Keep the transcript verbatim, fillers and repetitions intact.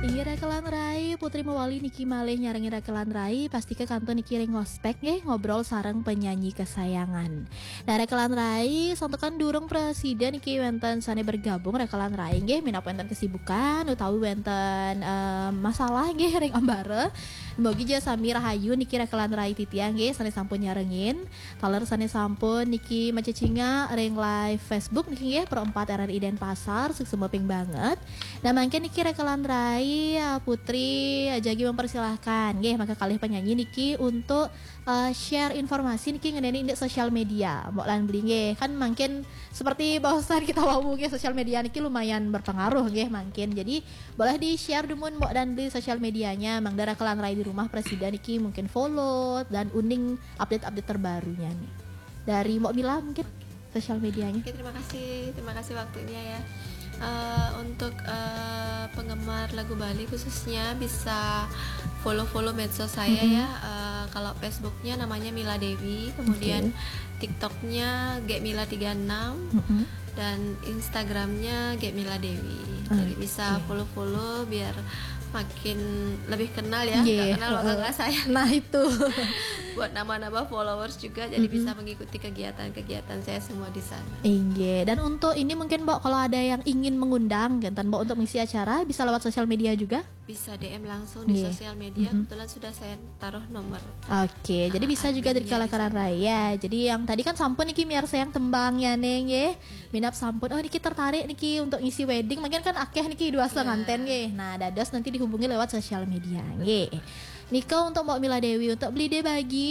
Inggih rekan rai, Putri Mawali niki malih nyarengin rekan rai, pasti ke kantun niki ring ngospek nggih, ngobrol sareng penyanyi kesayangan. Nah, rekan rai, santukan durung prasida niki wenten sane bergabung rekan rai nggih, minab wenten kesibukan utawi wenten eh, masalah nggih ring ambara. Mugi ja sami rahayu niki rekan rai titiang nggih, sane sampun nyarengin. Taler sane sampun niki macecingak ring live Facebook niki nggih, Pro empat R R I Denpasar, suksma ping banget. Nah, mangkin niki rekan rai, eh, Putri, eh, jagi mempersilahkan nggih, maka kalih penyanyi niki untuk eh, share informasi niki ngeneni indik sosial media. Mbok lan Beli nggih, kan mangkin seperti bahasan kita wau nggih, sosial media niki lumayan berpengaruh nggih mangkin. Jadi boleh di-share dumun Mbok dan Beli sosial medianya, mangda rekan rai di rumah prasida niki mungkin follow dan uning update-update terbarunya nih. Dari Mbok Mila mungkin sosial medianya. Oke, terima kasih, terima kasih waktunya ya. Eh, untuk eh, penggemar lagu Bali khususnya bisa follow-follow medsos saya Mm-mm. ya. Eh, kalau Facebooknya namanya Mila Dewi, kemudian Oke. TikToknya G Mila tiga enam, Mm-mm. dan Instagramnya G Mila Dewi. Jadi bisa Oke. Follow-follow biar makin lebih kenal ya. Nggih, Nggak kenal maka heeh. nggak saya. Nah, itu. Buat nambah-nambah followers juga, jadi Mm-mm. bisa mengikuti kegiatan-kegiatan saya semua di sana. Inggih. Dan untuk ini mungkin Mbok, kalau ada yang ingin mengundang, jantan Mbok, untuk mengisi acara, bisa lewat sosial media juga? Bisa D M langsung di Nggih. Sosial media. Mm-mm. Kebetulan sudah saya taruh nomor. Oke, jadi bisa juga dari Adminnya di kalaran sana. Raya. Jadi yang tadi kan sampun niki miarsayang tembangnya nggih. Minab sampun, oh, niki tertarik niki untuk ngisi wedding. Mungkin kan akeh niki dua Iya. nganten nggih. Nah, dados nanti dihubungi lewat sosial media nggih. Nika untuk Mbok Mila Dewi, untuk Beli De Bagi,